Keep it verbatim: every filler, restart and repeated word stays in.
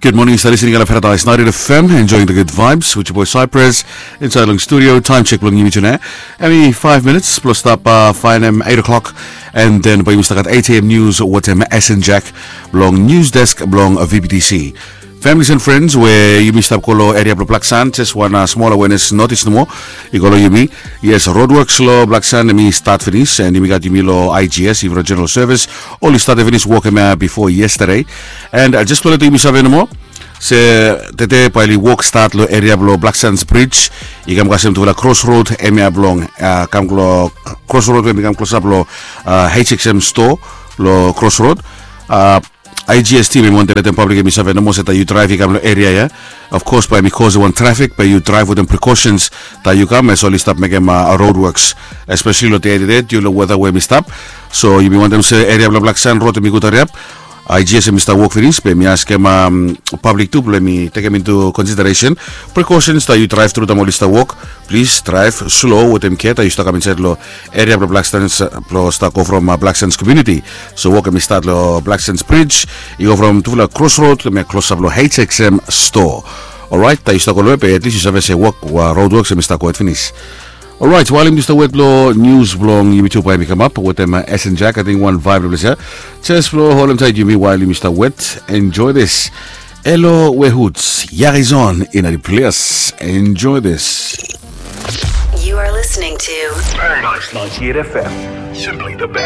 Good morning, stap listening on Paradise ninety F M, enjoying the good vibes with your boy Cypress inside long studio. Time check blong yumi tune. Hemi five minutes plus stap uh, fine em eight o'clock, and then by yumi start at eight a.m. news with him S N Jack blong news desk blong V B T C. Families and friends, where yumi stap kolo area blong Black Sand, just one uh, small awareness notice no more. I kolo yumi, yes, roadworks lo Black Sand mi start finish, and yumi got yumi lo I G S, Ivra General Service, oli start finish work him uh, before yesterday. And uh, just kolo to yumi save no more. Se tede bae oli wok stat lo eria blong Black Sands Bridge i kam kasem tufala crossroad, hemia blong uh, kam klo crossroad we mi kam klosap lo uh, H X M store lo crossroad. Uh, I G S team i wantem letem pablik hemi save nomo se taem yu draev i kam lo eria ya, of course bae hemi kos wan trafik, bae yu draev wetem precautions taem yu kam, as oli stap mekem uh, road works, especially lo dei tede yu lo weta we hemi stap. So yumi wantem se eria blong Black Sand road hemi gud hariap. I G S hemi stap wok finis, be mi askem um, pablik tu blong hemi tekem into consideration precautions taem yu draev tru taem oli stap wok. Plis draev slow wetem kea taem yu stap kam insaed lo eria blong Black Sands, blong stap go from uh, Black Sands community. So wok hemi stat lo Black Sands Bridge, i go from tufala crossroad hemia klosap lo H X M store. Orait taem yu stap go loe be at least yu save se wok uh, road works hemi stap gohed finis. Orait, wael yumi stap wet lo news blong yumi tu bae hemi kamap wetem uh, S N Jack, ating wan vibe lo ples ya. Jes blo holem taet yumi wael yumi stap wet. Enjoy this. Elo we hoots, Yarizon in a place. Enjoy this. You are listening to Paradise ninety-eight F M. Simply the best.